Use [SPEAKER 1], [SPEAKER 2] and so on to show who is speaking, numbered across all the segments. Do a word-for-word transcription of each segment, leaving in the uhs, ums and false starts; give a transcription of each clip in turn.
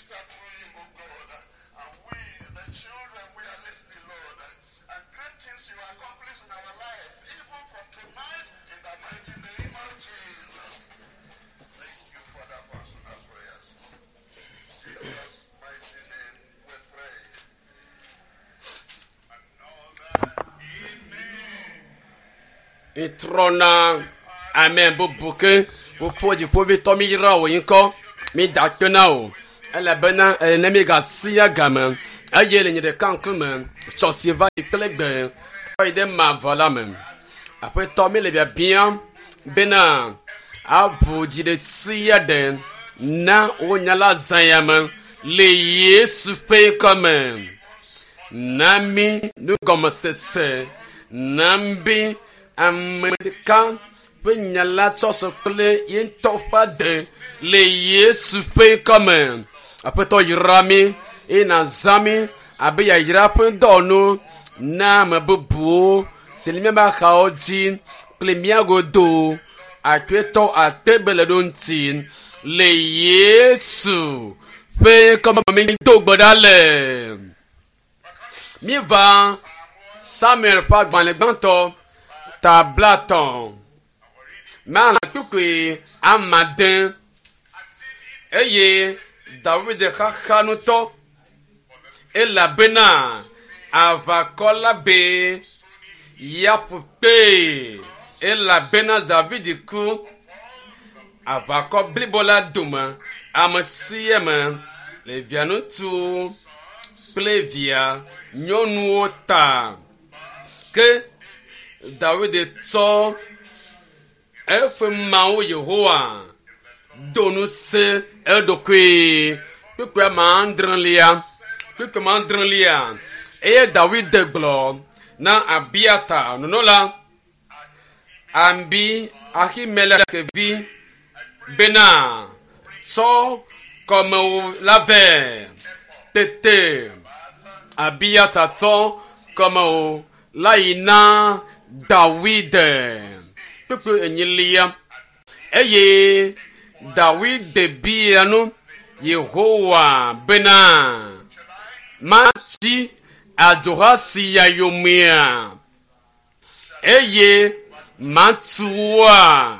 [SPEAKER 1] minister through him, O God. And we, the children, we are listening, Lord. And great things you accomplish in our life, even from tonight, in the mighty name of Jesus. Thank you, Father, for answering our prayers. In Jesus' mighty name we pray. Another amen.
[SPEAKER 2] Etrɔna ame bubu ke fofo dziƒovitɔ mi yra wò ŋkɔ mi da akpe na wò elabena ene mi gasia game eye le nye ɖeka ŋkume tsɔ si va yi kple gbe kɔ yi ɖe mavɔ la me aƒetɔ mi le biabiam bena aʋu dzi ɖe sia ɖe na wò nya la zã ya me le yesu ƒe ŋkɔme na mi nugɔmesese na mi ame ɖeka ƒe nya la tsɔ sɔ kple ye ŋutɔ ƒe ade le yesu ƒe ŋkɔme aƒetɔ yra mi eye nàzã mi abe yayra ƒe dɔwɔnu na ame bubuwo si le míaƒe axawo dzi kple mía godo aƒetɔ ate be le ɖo ŋuti le yesu ƒe ŋkɔme mi do gbe ɖa le míeva samuel ƒe agbalẽ gbãtɔ ta blatɔ̃ mana kpukpui amade eye dawid xaxa ŋutɔ elabena aʋakɔ la be yaƒu kpee elabena david ku aʋakɔ blibo la dome ame sia ame le via ŋutsuwo kple via nyɔnuwo ta ke dawid tsɔ eƒe mawu yehowa do ŋusẽ eɖokui kpukpui ame adrelia kpukpui ame adrelia eye dawid gblɔ na abiata nunɔla abi ahimelek vi bena tsɔ kɔmewu la vɛ tete abiata tsɔ kɔmewu la yi na dawid kpukpui enyilia eye dawid bia nu yehowa bena matsi adzoha sia yomea eye matu woa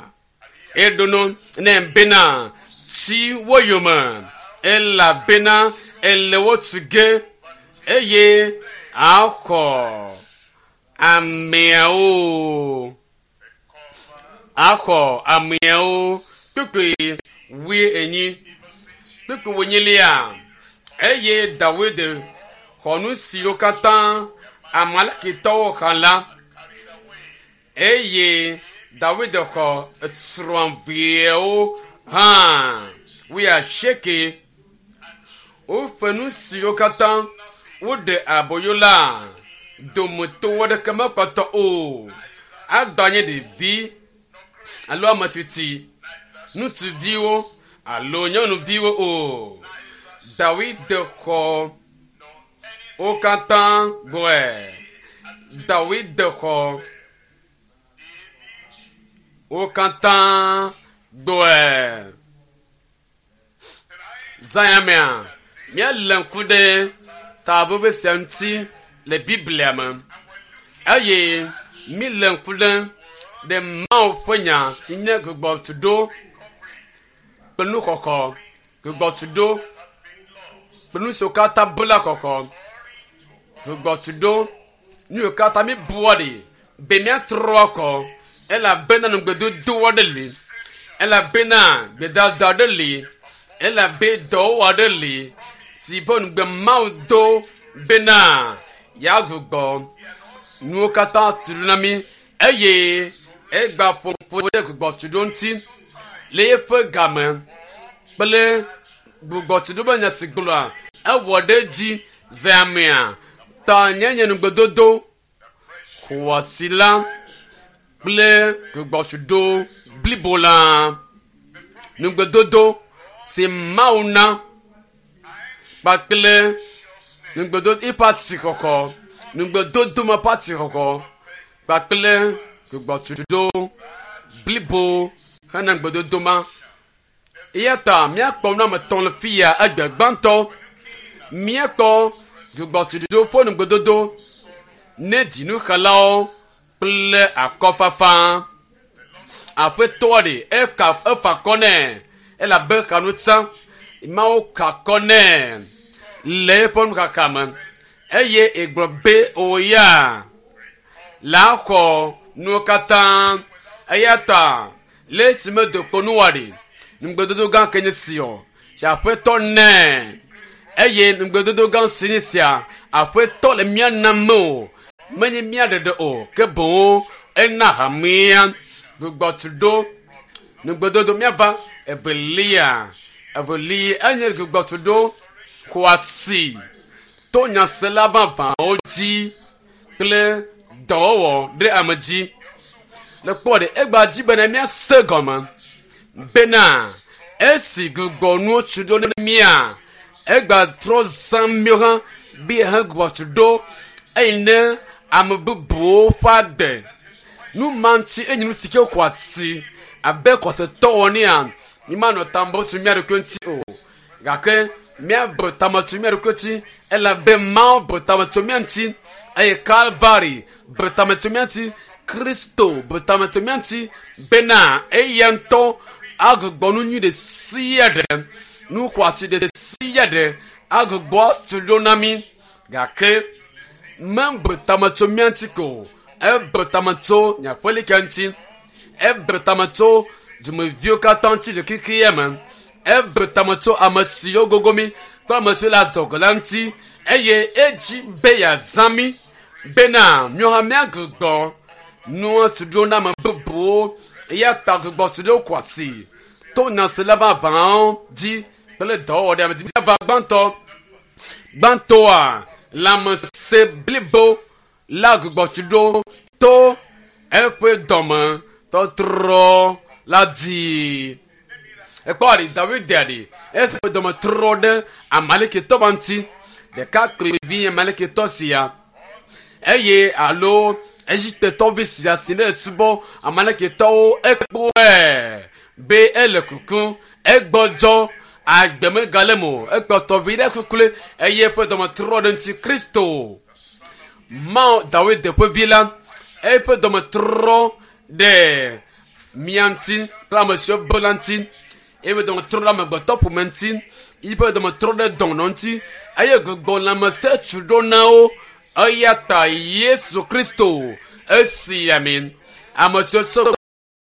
[SPEAKER 2] eɖono ne bena tsi wo yome elabena ele wo tu ge eye axɔ ameawo axɔ ameawo kpukpui wui enyi kpukpui wonyilia eye dawid xɔ nu siwo katã amalekitɔwo xa la eye dawid xɔ srɔ̃viawo hã wuiasieke woƒe nu siwo katã woɖe aboyo la dometɔ aɖeke mekpɔtɔ o agbã nye ɖevi alo ame tsitsi ŋutsuviwo alo nyɔnuviwo o dawid xɔ wo katã gbɔe dawid xɔ wo katã gbɔe zãyamea míele ŋku ɖe taʋuʋu sia ŋuti le biblia me eye míle ŋku ɖe ɖe mawu ƒe nya si nye gbugbɔtuɖo kple nuxɔxɔ gbugbɔtuɖo kple nu siwo katã bu la xɔxɔ gbugbɔtuɖo nu yiwo katã mi bua ɖi be míatrɔ akɔ elabena nugbedodo aɖe li elabena gbedada aɖe li elabe dɔwɔwɔ aɖe li si be nugbe mawu do bena yeagbugbɔ nuwo katã tu ɖo na mí eye egba ƒoƒo ɖe gbugbɔtuɖo ŋuti le eƒe game kple gbugbɔtuɖo be nya si gblɔa ewɔ ɖe edzi ze amea ta nye nye nugbedodo xɔasi la kple gbugbɔtuɖo blibo la nugbedodo si mawu na kpakple nugbedodo eƒe asixɔxɔ nugbedodo me ƒe asixɔxɔ kpakple gbugbɔtuɖo blibo hena nugbedodo ma Eya ta míakpɔ nu ame etɔ̃ le fi ya egbe gbãtɔ. Míakpɔ gbugbɔtuɖoɖo ƒe nugbedodo ne dzinuxelawo kple akɔfafa. Aƒetɔa ɖe efa efa akɔ nɛ elabe xa nu tsã. Mawu ka akɔ nɛ le eƒe nuxaxa me eye egblɔ be o ya la xɔ nuwo katã eya ta le esime dokpo nuwa ɖi nugbedodo gã ke nye si o si aƒetɔ nɛ eye nugbedodo gã si nye sia aƒetɔ le mía nam o menye mía ɖeɖe o ke boŋ ena hamea gbugbɔtuɖo nugbedodo míava evelia evelia enye gbugbɔtuɖo xɔasi to nyasela vavãwo dzi kple dɔwɔwɔ ɖe ame dzi le kpɔ ɖe egba dzi bena míase gɔme bena esi gbugbɔ nuwo tsu ɖo ne mía egba trɔ zã míwo hã be hã gbugbɔ tsu ɖo eyi ne ame bubuwo ƒe agbe nu ma ŋuti enye nu si ke xɔ asi abe xɔsetɔ wɔnea mímanɔ tambo tsu mía ɖokui ŋuti o gake míabu tame tso mía ɖokui ŋuti elabe Mawu bu tame tso mía ŋuti eye Kalvari bu tame tso mía ŋuti Kristo bu tame tso mía ŋuti bena eya ŋutɔ agbugbɔ nu nyui ɖe sia ɖe nu xɔasi ɖe sia ɖe agbugbɔ atu ɖo na mí gake mebu tame tso mía ŋuti ko o ebu tame tso nye aƒelika ŋuti ebu tame tso dumeviwo katã ŋuti le xexea me ebu tame tso ame siwo gogo mí kple ame siwo le adzɔge la ŋuti eye edzi be yeazã mí bena míawo hã míagbugbɔ nuwo tu ɖo na ame bubuwo eya ta gbugbɔ tu ɖo kɔ asi to nyasela vavãwo dzi kple dɔwɔwɔ ɖe ame dzi míava gbãtɔ gbãtɔa lãmesẽ blibo la gbugbɔ tu ɖo to eƒe dɔme tɔtrɔ la dzi ekpɔ ɖi David ɖi eƒe dɔme trɔ ɖe Amalekitɔ ma ŋuti ɖekakpuivi Amalekitɔ sia eye alo Egiptetɔvi sia si ne subɔ Amalekitɔwo ekpɔe be ele kukum egbɔdzɔ agbe megale me o ekpɔtɔ vi ɖe kukule eye eƒe dɔme trɔ ɖe ŋuti Kristo Mawu David ƒe vi la eƒe dɔme trɔ ɖe mía ŋuti kple ame siwo be la ŋuti eƒe dɔme trɔ ɖe amegbetɔ ƒome ŋuti eƒe dɔme trɔ ɖe dɔnɔ ŋuti eye gbugbɔ lãmesẽ tu ɖo na wo eya ta Yesu Kristo esi ami ame siwo tsɔ